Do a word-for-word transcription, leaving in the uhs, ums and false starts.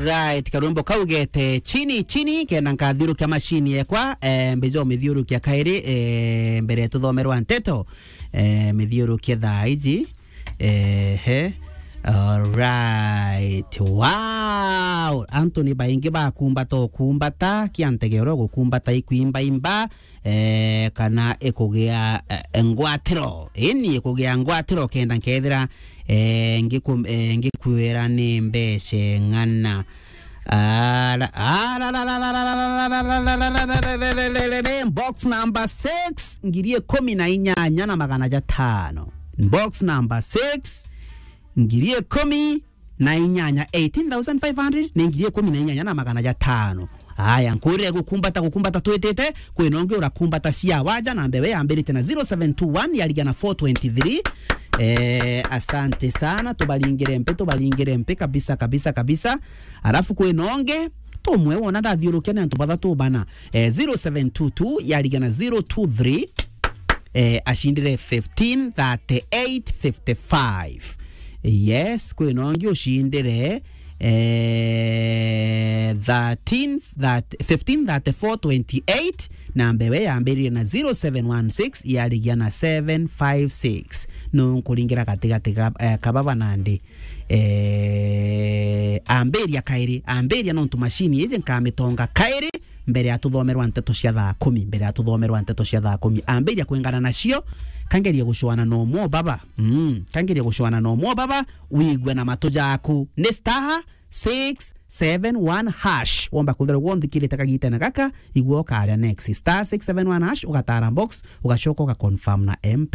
Right, karwimbo kau gete chini chini, kenda nkathiurukia machine yekwa, eh, mbeja umithiurukia kairi, eh, mbere tuthomerwa nteto, eh, mithiurukie thaa iji. Ehe. Alright. Wow. Antu ni baingi bakumbata ukumbata, kia ntegero gukumbata ikuimbaimba, eh, kana ikugia, eh, ngwatiro. Ini ikugia ngwatiro kenda nkethira, eh, ngiku-, eh, ngikwira ni mbeca ng'ana. Ara-, ara-, box number six, ngiri ikumi na inyanya na magana jatano. Box number six, ngiri ikumi na inyanya, eighteen thousand five hundred, ni ngiri ikumi na inyanya na magana jatano. Aya, nkurire gukumbata, gukumbata twitite, kwina ungi urakumbata cia waja, na mbewe yambirite na zero seven two one, yarigia na four twenty-three. Eh, asante sana, tubaringire mpi, tubaringire mpi kabisa, kabisa, kabisa. Alafu kwina ungi, tumwe wona ndathiurukia ni antu bathatu bana. Eh, zero seven two two, yarigia na zero two three. Eh, acindire fifteen thirty-eight fifty-five. Yes, kwina ungi ucindire, eh, thirteen, that, fifteen thirty-four twenty-eight, na mbewe yambirire na zero seven one six, yarigia na seven five six. No nkuringira gatigati ga, eh, kababa nandi. Eh, ambiria kairi, ambiria nontu machine iji nkamitonga kairi, mbere ya tuthomerwa nteto cia thaa kumi, mbere ya tuthomerwa nteto cia thaa kumi. Ambiria kwingana nacio, kangerie gucwana na umwe o baba. Mm, kangerie gucwana na umwe o baba, wigue na matu jaku. Ni star six seven one hash. Womba kwithirwa gwe unthikirite kagitene gaka, igua ukaria next. Star six seven one hash, ugatara box, ugacoka ugaconfirm na M-Pesa.